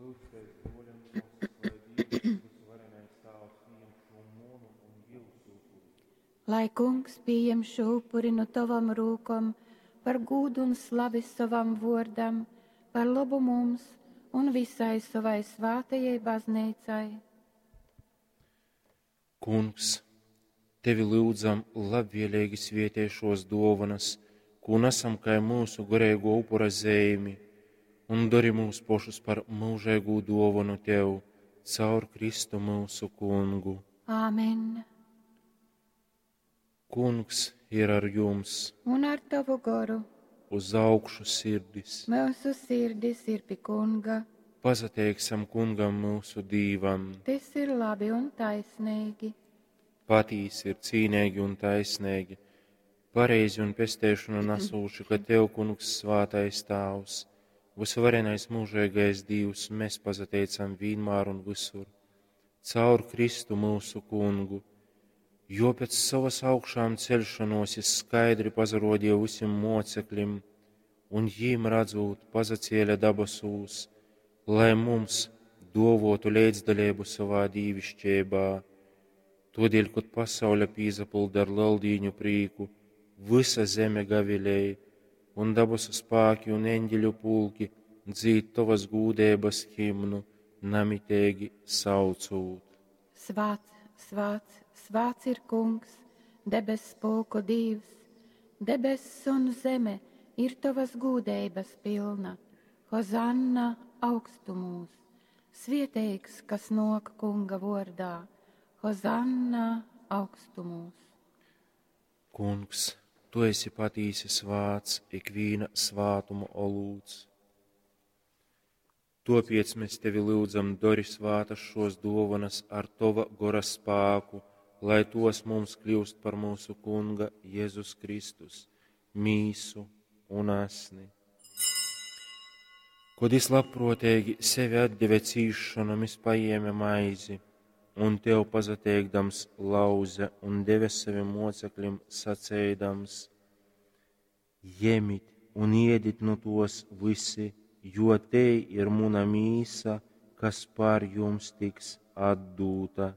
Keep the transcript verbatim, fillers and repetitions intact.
Lyudzitēs, bruoļi un muosys, lai Dīvs, Vysuvarenais Tāvs, pījam šū munu un jiusu upuri. Lai Kungs pījem šū upuri nu tovom rūkom par gūdu un slavi sovam vuordam, par lobu mums un visai sovai svātajai bazneicai. Kungs, tevi lyudzam, labvieleigi svietej šuos duovonys, kū nasam kai myusu goreiguo upura zeimi, un dori myus pošus par myužeigū duovonu tev caur Kristu myusu Kungu. Āmen. Kungs ir ar jums. Un ar tovu goru. Uz augšu sirdis. Myusu sirdis ir pi Kunga. Pasateiksim Kungam myusu Dīvam. Tys ir labi un taisneigi. Patīsi ir cīneigi un taisneigi, pareizi un pesteišonu nasūši, ka tev, Kungs, svātais Tāvs, vysuvarenais mūžīgais Dīvs, mēs pasateicam vienmēr un visur, caur Kristu mūsu Kungu, jo pēc savas augšām celšanos jis skaidri pazarodīja visiem mocekļiem, un jīm redzot pazacēla dabasūs, lai mums dovotu līdzdalību savā dīvišķībā. Todēļ, kad pasaule pīzapilda ar lieldīņu prīku, visa zeme gavilēja, un dabasu spāki un eņģeļu pulki dzīd tavas gūdības himnu, namitīgi saucūt. Svāts, svāts, svāts ir Kungs, debess pulku Dīvs, debess un zeme ir tavas gūdeibas pilna. Hozanna augstumūs, svieteigs, kas nok Kunga vordā. Hozanna augstumūs. Kungs, tu esi patīsi svāts, ikvīna svātuma olūts. Topiec mēs tevi lūdzam, dori svātas šos dovanas ar tova gora spāku, lai tos mums kļūst par mūsu Kunga Jēzus Kristus, mīsu un asni. Kod jis labprōteigi sevi atdeve cīšanom, jis paēma maizi un tev pasateikdams lauze un deve saviem mocekļiem saceidams: Jemit un iedit nu tos visi, jo te ir muna mīsa, kas par jums tiks atdūta.